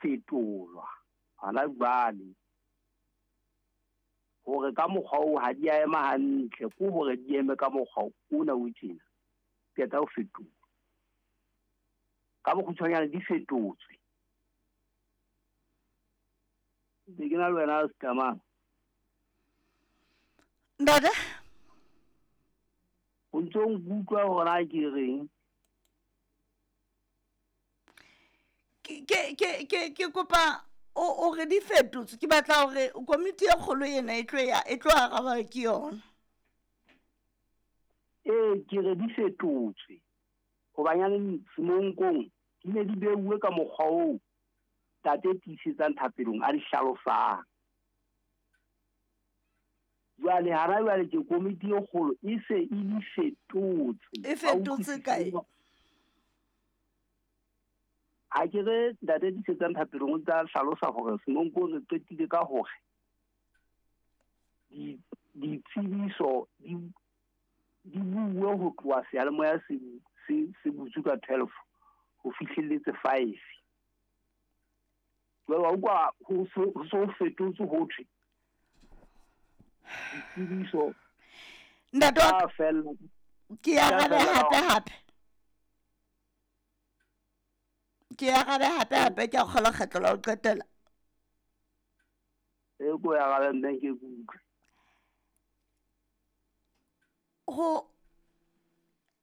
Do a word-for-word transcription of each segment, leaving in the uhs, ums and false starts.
fetolwa hona jwale hore ka mokgwa oo ha di a ema hantle, ke hore di eme ka mokgwa ona o tjena, qeta ho fetola. Ka bokgutshwanyane di fetotswe. Be ke na le wena Setamang. Ntate? O ntso nkutlwa hore na ke reng? Ke ke ke ke ke kopa o o re di fetotswe, ke batla hore komiti e kgolo ena e tlo ya e tlo araba ke yona. Ee, ke re di fetotswe. Hobanyane semonkong di ne di beuwe ka mokgwa oo tate tiisetsang thapelong a di hlalosang. Jwale hana jwale ke komiti e kgolo e se e di fetotse. E fetotse kae? Ha ke re ntate tiisetsang thapelong o tla hlalosa hore semonkong re qetile ka hore di ditsebiso di di buwe ho tloha seyalemoya se se se butswe ka twelve ho fihlelletse five. Jwale wa utlwa ho so ho so fetotswe ho thwe ditsebiso Ntate wa tsa fella. Ke Tsa arabe fella hape hape. Ke arabe hape hape, ke a kgolwa kgetlo la ho qetela. E ko ya arabe mme ke kutlwe. Ho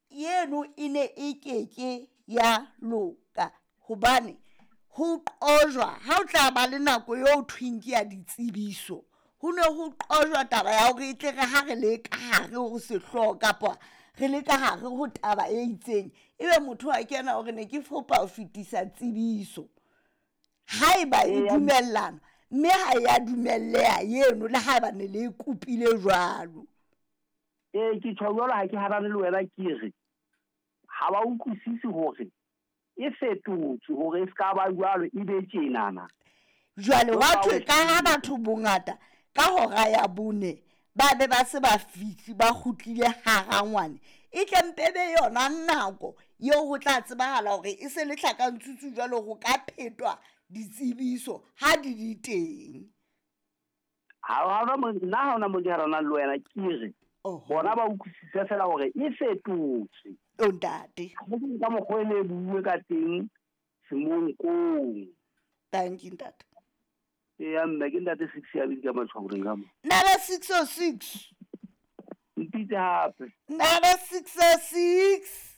yeno e ne e keke ya loka hobane ho qojwa ha o tla ba le nako eo thweng ke ya ditsebiso, ho ne ho qojwa taba ya hore e tle re ha re le ka hare ho sehlooho kapa re le ka hare ho taba e itseng, ebe motho a kena hore ne ke fopa ho fetisa tsebiso. Haeba e dumellana, mme ha ya dumelleha eno le haeba ne le e kopile jwalo. Ee, ke tjho jwalo, ha ke hanane le wena, ke re ha ba utlwisise hore e fetotswe hore e ska ba jwalo, e be tjenana. Jwale Jwalo wa ka thwe o ka ha batho bongata ka hora ya bone ba be ba se ba fihle ba kgutlile harangwane, e tle mpe be yona nako eo ho tla tsebahala hore e se le tlhakantsutsu jwalo ho ka phetwa ditsebiso ha di le teng. Ha ha mo nna ha hona mo ke hananang le wena, ke re Oho. bona ba utlwisise fela hore e fetotswe. O ntate. Ha ke ka mokgwa e ne e buuwe ka teng semonkong. Thank you, ntate. Eya mme, ke ntate six ya bidi ka matshwaoreng ka mo. Nada six oh six. Mpitse hape. Nada six oh six.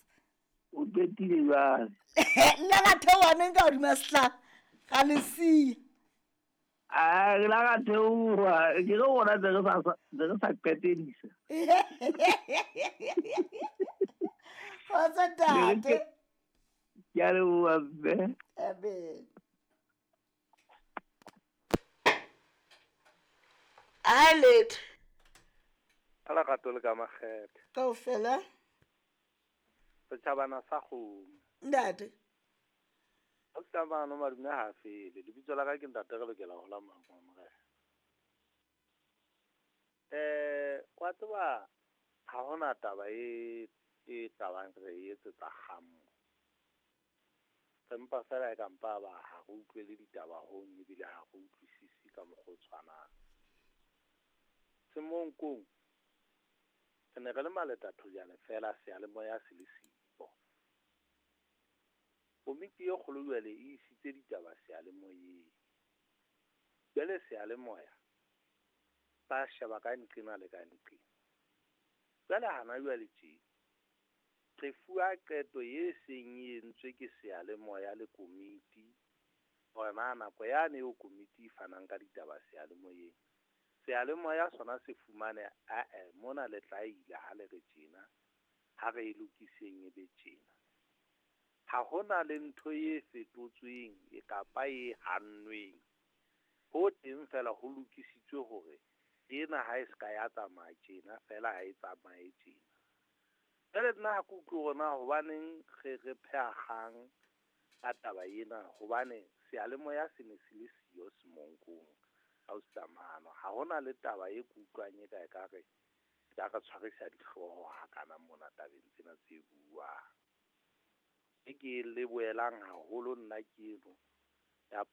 O qetile jwale. Nna ka theoha neng ka hodima sehlahla, ra le siya. Ah, re la ka theoha, ke re rona ntse re sa ntse re sa qetedisa. Kgotso ntate. Ke a leboha mme. Amen. Hi, late. Ka lerato le ka makgethe. Kaofela. Setjhabana sa kgomo. Ntate. Ausi madume ha fele. Lebitso la ka ke ntate re lokela ho la mangwa morena. Eh, wa tseba ha hona taba e e tlabang re e etsetsa kgamo. Re mpa fela e ka mpa ba ha re utlwele ditaba hong ebile ha re utlwisise ka mokgwa o tshwanang. Semonkong re ne re le maletathojane fela seyalemoya se le siyo. Komiti e kgolo jwale e isitse ditaba seyalemoyeng. Jwale seyalemoya ba sheba ka nqena le ka nqena. Jwale hana jwale tje re fuwa qeto e seng e entswe ke seyalemoya le komiti hore na nako yane eo komiti e fanang ka ditaba seyalemoyeng, seyalemoya sona se fumane ae mona le tla ile ha le re tjena, ha re e lokiseng e be tjena. Ha hona le ntho e fetotsweng e kapa e hannweng. Ho teng fela ho lokisitswe hore ena ha e ska ya tsamaya tjena fela ha e tsamaye tjena. Jwale nna ha ke utlwe hore na hobaneng re re pheha kgang ka taba ena, hobane seyalemoya se ne se le siyo semonkong ausi Mano. Ha hona le taba e ke utlwang e ka ekare e ka re tshwarisa dihlooho hakana mona tabeng tsena tse buuwang. E ke e lebohelang haholo nna ke eno Ya